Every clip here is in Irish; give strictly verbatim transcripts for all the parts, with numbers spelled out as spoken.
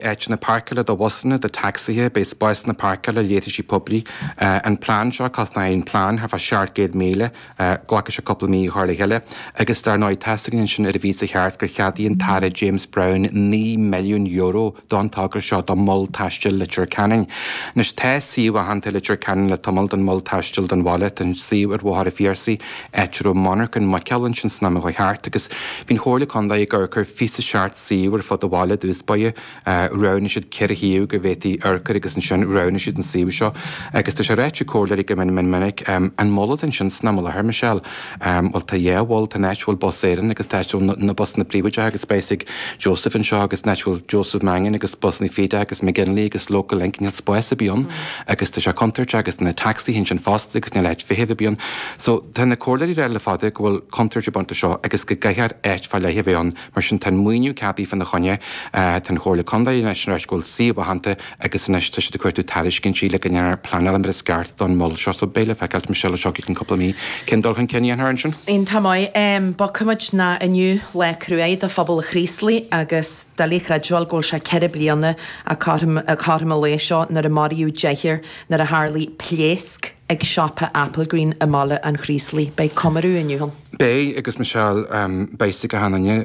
Áiteanna páirceála do bhusanna, do tacsaithe, beidh spásanna páirceála, leithrisí poiblí. An plean seo, cosnóidh an plean thart fá seacht gcéad míle, glacfaidh sé cúpla mí a chur le chéile. Agus dar ndóigh, tá's againn ansin ar an bpíosa cheart gur cheadaigh an tAire James Browne naoi milliún euro don togra seo do Mhol Taistil Leitir Ceanainn. Anois tá suíomh aitheanta i Leitir Ceanainn le tamall don Mhol Taistil don bhaile, tá an suíomh ar Bhóthar an Phiarsaigh, áit a raibh monarcha muiceola ansin san am a chuaigh thart agus bhí an Chomhairle Contae ag amharc ar fiche seacht suíomh ar fud an bhaile i dtús báire. Roghnaigh siad ceithre shuíomh go bhféadfaí amharc air agus ansin roghnaigh siad an suíomh seo. Agus tá sé ráite ag comhairleoirí go mion mion minic, an mol atá ansin san am i láthair, Michelle, bhuel tá dhá mhol, tá an áit a bhfuil Bus Éireann agus tá áit a bhfuil na busanna príobháideacha agus beidh a fhios ag Joseph anseo agus an áit a bhfuil Joseph Mangan agus busanna Feeda agus McGinley agus Local Link, níl spás ar bith ann agus tá sé contúirteach agus tá na tacsaithe ansin fosta agus níl áit feithimh ar bith ann. So tá na comhairleoirí ag rá le fada go bhfuil contúirt ag baint leis seo agus go gcaithfear áit fá leith a bheith ann. Mar sin tá an maoiniú ceadaithe fána choinne. Tá an Chomhairle Contae anois tar éis go bhfuil suíomh aitheanta agus anois tá siad ag cuartú tairiscintí le go ndéanfar pleanáil mar is ceart don mhol seo. So beidh le feiceáil, Michelle, anseo i gceann cúpla mí cén dul chun cinn a dhéanfar ansin. Iontach maith. Bogfaimid ná inniu lá cruaidh do phobal an Chraoslaigh agus doiligh a chreidbheáil go bhfuil sé ceithre bliana cothrom an lae seo nuair a maraíodh deichniúr nuair a tharlaigh pléasc ag siopa Applegreen i mBaile an Chraoslaigh. Beidh comóradh inniu ann. Beidh, agus Michelle, beidh a fhios ag achan duine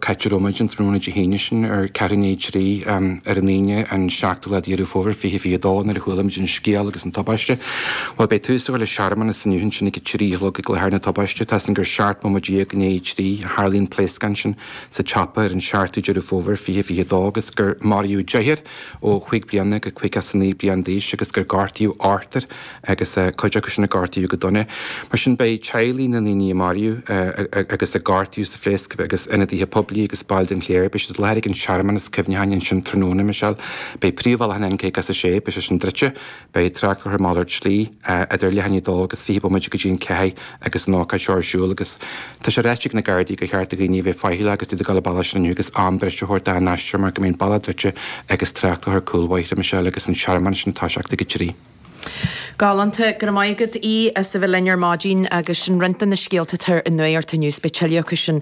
cá háit a raibh muid an tráthnóna Dé hAoine sin ar ceathrú i ndiaidh a trí ar an Aoine an seachtú lá de Dheireadh Fómhair fiche fiche dó nuair a chuala muid an scéal agus an tubaiste. Bhuel beidh tús á chur le searmanas inniu ansin ag a trí a chlog ag láthair na tubaiste. Tá a fhios againn gur seacht mbomaite déag i ndiaidh a trí a tharlaigh an pléascán sin sa tsiopa ar an seachtú Deireadh Fómhair fiche fiche dó agus gur maraíodh deichniúr ó chúig bliana go caoga is a naoi bliain d'aois agus gur gortaíodh ochtar agus cuid acu sin a gortaíodh go dona. Mar sin beidh teaghlaigh na ndaoine a maraíodh agus a gortaíodh sa phléasc agus ionadaithe poiblí agus baill den chléir, beidh siad i láthair ag an searmanas cuimhneacháin ansin tráthnóna, Michelle. Beidh príomhbhealach an N caoga is a sé, beidh sé sin druidte, beidh trácht á chur ar malairt slí idir leath i ndiaidh a dó agus fiche bomaite go dtí an ceathair agus an ócáid seo ar siúl agus tá sé ráite ag na Gardaí gur cheart do dhaoine a bheith faichilleach agus iad ag dul an bealach sin inniu agus am breise a thabhairt dá n-aistear mar go mbeidh an bealach druidte agus trácht á chur ar cúlbhóithre, Michelle, agus an searmanas sin ag toiseacht ag a trí. Galánta. Go raibh maith agat Aodh as a bheith linn ar maidin agus sin roinnt de na scéalta atá ar an nuacht inniu. Beidh tuilleadh acu sin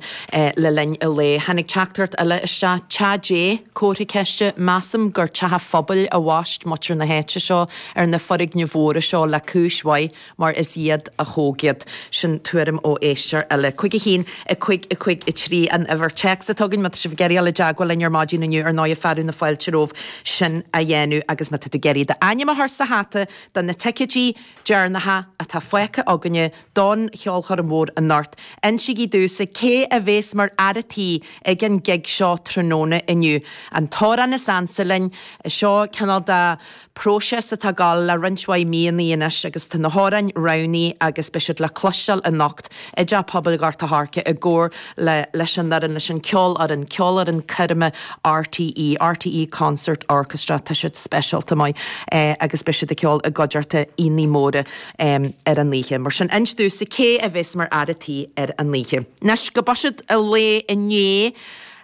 le linn an lae. Tháinig teachtaireacht eile isteach. Teach Dé? Comhartha ceiste. Measaim gur teach an phobail a bhaist muintir na háite seo ar na foirgnimh mhóra seo le cúis mhaith mar is iad a thóg iad. Sin tuairim ó éisteoir eile. Cúig a haon, a cúig, a cúig, a trí an uimhir téacs atá againn má tá sibh ag iarraidh dul i dteagmháil linn ar maidin inniu ar ndóigh fearadh na fáilte romhaibh sin a dhéanamh agus má tá tú ag iarraidh d'ainm a chur sa hata do na ticéidí deireanacha atá fágtha againne don cheolchoirm mhór anocht, insígí domhsa cé a bhéas mar fhear a' tí ag an gig seo tráthnóna inniu. An t-amhrán is ansa linn, seo cineál de próiseas atá ag gabháil le roinnt mhaith míonna anois agus tá na hamhráin roghnaithe agus beidh siad le cloisteáil anocht i dTeach Pobail Ghort a' Choirce i gcomhar le leis an fhoireann, leis an ceolfhoireann, Ceolfhoireann Coirme RTÉ, RTÉ Concert Orchestra, tá siad speisialta maith agus beidh siad ag ceol i gcuideachta aíonna móra ar an oíche. Mar sin, inis domhsa cé a bheas mar fhear a' tí ar an oíche. Anois, go buiséad an lae inné.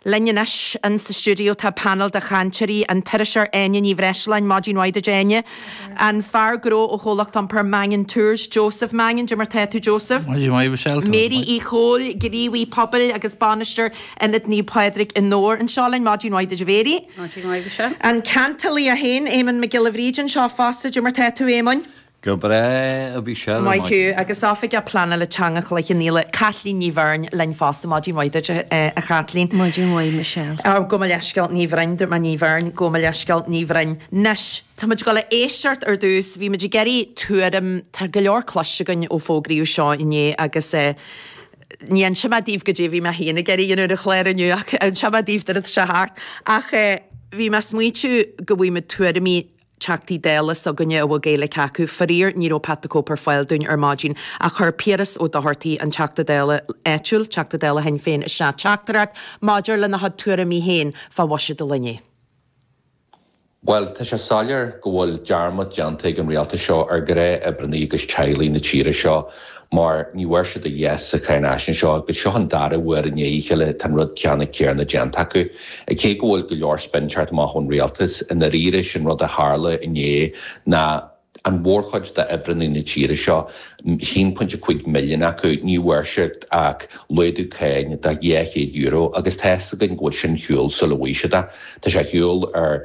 Linn anois in sa stiúideo tá panel de chainteoirí, an t-iriseoir Áine Ní Bhreisleáin, maidin mhaith duit Áine, an fear gnó ó chomhlacht iompair Mangan Tours, Joseph Mangan, cad é mar tá tú Joseph? Maidin mhaith Michelle, tá Mary Uí Chomhaill, gníomhaí pobail agus bainisteoir Ionad Naomh Pádraig i nDobhar anseo linn, maidin mhaith duit a Mhary. Maidin mhaith Michelle. An cantalí é féin, Éamonn Mac Giolla Bhríde anseo fosta, cad é mar tá tú Éamoinn? Go breá, a Mhichelle, ar Maith maidin. thú. Agus Oifigeach Pleanála Teanga Chloich Cheann Fhaola, Caitlín Ní Bheirn, linn fosta. Maidin mhaith duit, a Chaitlín. Maidin mhaith, Michelle. Ó, gabh mo leithscéal, Ní Bhroin, dúirt mé Ní Bheirn, gabh mo leithscéal, Ní Bhroin. Anois, tá muid ag dul a éisteacht ar dtús, bhí muid ag iarraidh tuairim, tá go leor cloiste againn ó fógraíodh seo inné agus eh, ní inseoidh mé daoibh goidé a bhí mé féin ag iarraidh a dhéanamh ar an chlár inniu ach inseoidh mé daoibh nuair atá sé thart. Ach eh, bhí mé ag smaointiú go bhfaighidh muid tuairimí Teachtaí Dála s'againne a bhfuil Gaeilge acu. Faraor, ní raibh Pat the Cope ar fáil dúinn ar maidin ach chuir Piaras Ó Dochartaigh, an Teachta Dála áitiúil, Teachta Dála Shinn Féin, isteach teachtaireacht maidir lena chuid tuairimí féin fá bhuiséad an lae inné. Bhuel, tá sé soiléir go bhfuil dearmad déanta ag an rialtas seo ar ghnáth-oibreannaí agus teaghlaigh na tíre seo mar ní bhfuair siad a dhath sa cháinaisnéis seo agus seo an dara huair i ndiaidh a chéile tá an rud ceannann céanna déanta acu. Cé go bhfuil go leor spin teacht amach ón rialtas, i ndáiríre sin rud a tharla inné ná An mhórchuid d'oibreanna na tíre seo, haon pointe cúig milliún acu, ní bhfuair siad ach laghdú cáin de dhá chéad euro agus tá fhios againn go bhfuil sin ar shiúl sula bhfaighidh siad é. Tá sé ar shiúl ar